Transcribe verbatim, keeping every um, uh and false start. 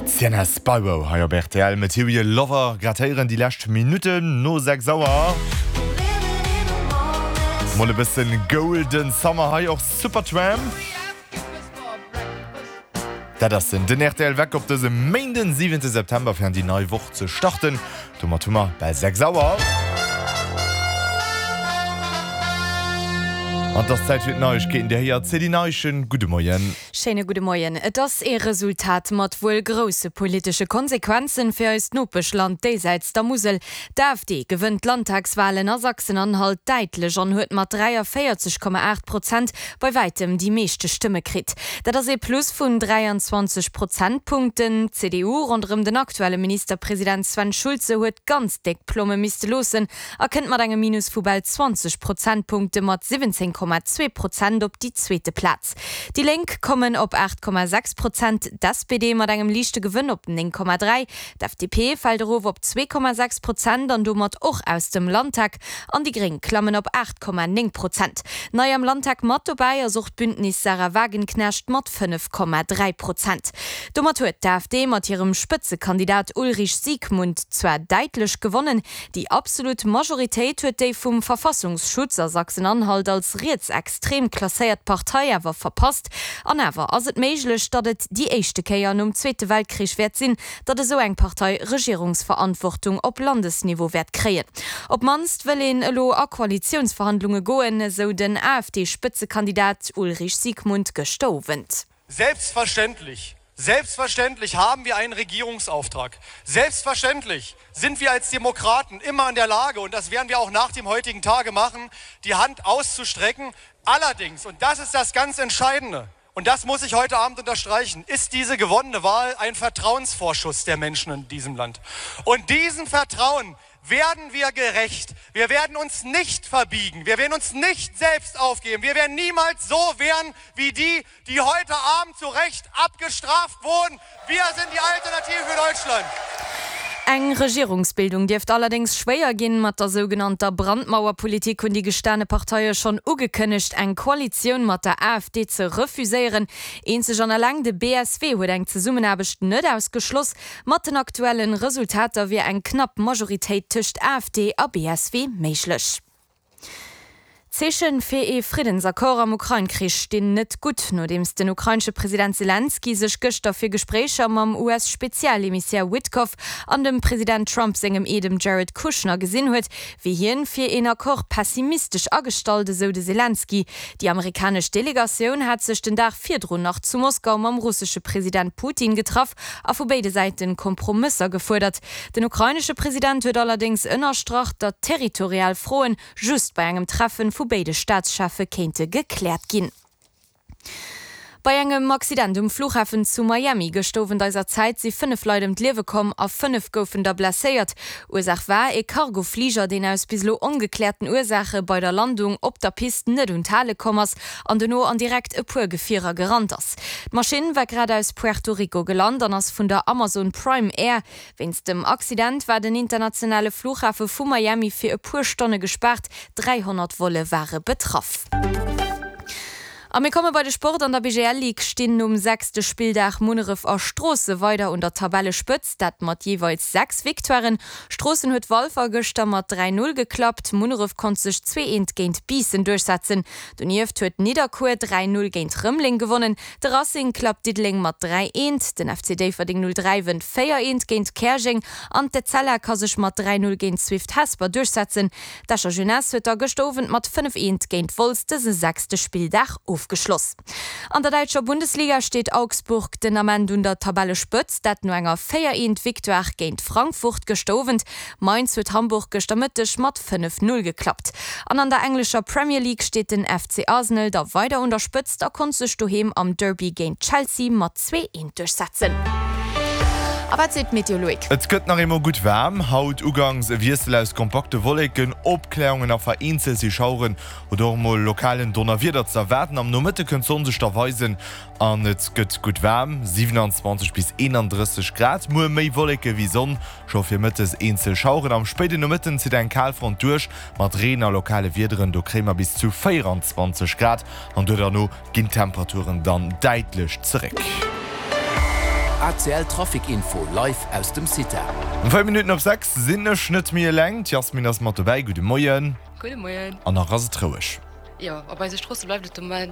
D'Sienna Spiro hei op rtl, Material Lover. Grad héieren déi lescht Minutten no sechs Auer. Mol e bëssen Golden Summer hei och Supertramp. Dat ass den den rtl Wecker op dësem Méinden, siwente September fir an déi nei Woch ze starten. Domat hu mer bal sechs Auer. An et ass Zäit fir d'Neiegkeeten. Dir héiert d'Céline Eischen. Gudde Moien. Schéine gudde Moien. Et ass ee Resultat mat wuel grousse politesche Konsequenzen fir eist Nopeschland déisäits der Musel. D'AfD gewënnt d'Landtagswalen a Sachsen-Anhalt däitlech an huet mat dräiavéierzeg Komma aacht Prozent bei wäitem déi meeschte Stëmme kritt. Dat ass ee Plus vun dräianzwanzeg Prozentpunkten. D'CDU ronderëm den aktuelle Ministerpresident Sven Schulze huet ganz déck Plomme misste loossen a kënnt mat engem Minus vu bal zwanzeg Prozentpunkte mat siwwenzéng Komma zwee Prozent op déi zweete Plaz. Déi Lénk kommen op aacht Komma sechs Prozent, d'SPD mat engem liichte Gewënn op néng Komma dräi, d'FDP fält erof op zwee Komma sechs Prozent an domat och aus dem Landtag an déi Gréng klammen op aacht Komma néng Prozent. Nei am Landtag mat dobäi ass och d'Bündnis Sahra Wagenknecht mat fënnef Komma dräi Prozent. Domat huet d'AfD mat hirem Spëtzekandidat Ulrich Siegmund zwar däitlech gewonnen, déi absolut Majoritéit huet déi vum Verfassungsschutz a Sachsen-Anhalt als rietsextrem klasséiert Partei awer verpasst. An awer ass et méiglech, datt et déi éischte Kéier nom Zweete Weltkrich wäert sinn, datt esou eng Partei Regierungsverantwortung op Landesniveau wäert kréien. Op d'mannst wëll een elo a Koalitiounsverhandlunge goen, esou den AfD-Spëtzekandidat Ulrich Siegmund gëschter Owend. Selbstverständlich, selbstverständlich haben wir einen Regierungsauftrag. Selbstverständlich sind wir als Demokraten immer in der Lage, und das werden wir auch nach dem heutigen Tage machen, die Hand auszustrecken. Allerdings, und das ist das ganz Entscheidende, und das muss ich heute Abend unterstreichen, ist diese gewonnene Wahl ein Vertrauensvorschuss der Menschen in diesem Land. Und diesem Vertrauen werden wir gerecht. Wir werden uns nicht verbiegen. Wir werden uns nicht selbst aufgeben. Wir werden niemals so werden wie die, die heute Abend zu Recht abgestraft wurden. Wir sind die Alternative für Deutschland. Eng Regierungsbildung dierft allerdéngs schwéier ginn. Mat der sougenannter Brandmauerpolitik hunn déi gestane Parteie schonn ugekënnegt, eng Koalitioun mat der AfD ze refuséieren. Eenzeg an eleng de B S W huet eng Zesummenaarbecht net ausgeschloss. Mat den aktuellen Resultater wier eng knapp Majoritéit tëscht AfD a B S W méiglech. D'Zeeche fir ee Friddensaccord am Ukrain-Krich stinn net gutt, nodeems den ukrainesche President Selenskyj sech gëschter fir Gespréicher mam U S-Spezialemissär Witkoff an dem President Trump sengem Eedem Jared Kushner gesinn huet, wier hien fir een Accord pessimistesch agestallt, esou de Selenskyj. Déi amerikanesch Delegatioun hat sech den Dag virdrun nach zu Moskau mam russesche President Putin getraff a vu béide Säite Kompromësser gefuerdert. Den ukrainesche President huet allerdéngs ënnerstrach, datt territorial Froen just bei engem Treffen vu béide Staatscheffe kéinte gekläert ginn. Bei engem Accident um Flughafen zu Miami gëscht Owend eiser Zäit si fënnef Leit ëm d'Liewe komm a fënnef goufen der blesséiert. Ursaach war ee Cargofliger, deen aus bis elo ongekläerten Ursaache bei der Landung op der Pist net un d'Hale komm ass an dono an direkt e puer Gefierer gerannt ass. D'Maschinn war grad aus Puerto Rico gelant an ass vun der Amazon Prime Air. Wéinst dem Accident war den internationale Flughafe vu Miami fir e puer Stonne gespaart, dräihonnert Volle ware betraff. A mir komme bei de Sport. An der B G L Ligue stinn nom sechste Spilldag Munneref a Stroosse weider un der Tabellespëtzt, dat mat jeeweils sechs Victoiren. Stroossen huet Walfer gëschter mat dräi null geklappt, Munneref konnt sech zwee eent géint Biissen duerchsetzen. Donieft huet Nidderkuer dräi null géint Rëmeleng gewonnen, de Racing klappt Diddeleng mat dräi eent, den F C Déifferdeng null dräi wënnt véier eent géint Käerjeng an d'Etzella ka sech mat dräi null géint Swift Hesper duerchsetzen. D'Escher Jeunesse huet da gëschter Owend mat fënnef eent géint Wolz dëse sechste Spilldag ofgeschloss. An der däitscher Bundesliga steet Augsburg den Ament un der Tabellespëtzt, dat no enger véier eent Victoire géint Frankfurt gëschter Owend. Mainz huet Hamburg gëschter Mëtteg mat fënnef null geklappt. An an der englescher Premier League steet den F C Arsenal da weider un der Spëtzt a konnt sech doheem am Derby géint Chelsea mat zwee eent duerchsetzen. A wat seet d'Meteo, Loïc? Et gëtt nach eemol gutt waarm. Haut ugangs e Wiessel aus kompakte Wolleken, Opklärungen a vereenzelt si Schaueren oder och emol lokalen Donnerwieder ze erwaarden. Am Nomëtte kënnt d'Sonn sech da weisen an et gëtt gutt waarm, siewenundzwanzeg bis eenanddrësseg Grad. Muer méi Wolleke wéi Sonn, scho fir mëttes eenzel Schaueren. Am spéiden Nomëtten zitt eng Kalfront duerch mat Reen a lokale Wiederen, do kréie mer bis zu véieranzwanzeg Grad an duerno ginn d'Temperaturen dann däitlech zeréck. ACL Trafic Info live aus dem CITA. Um véier Minutten op sechs sinn ech net méi eleng, d'Yasmin ass mat dobäi. Gudde Moien. Gudde Moien. An nach ass et roueg. Jo, op eise Stroosse bleift et de Moment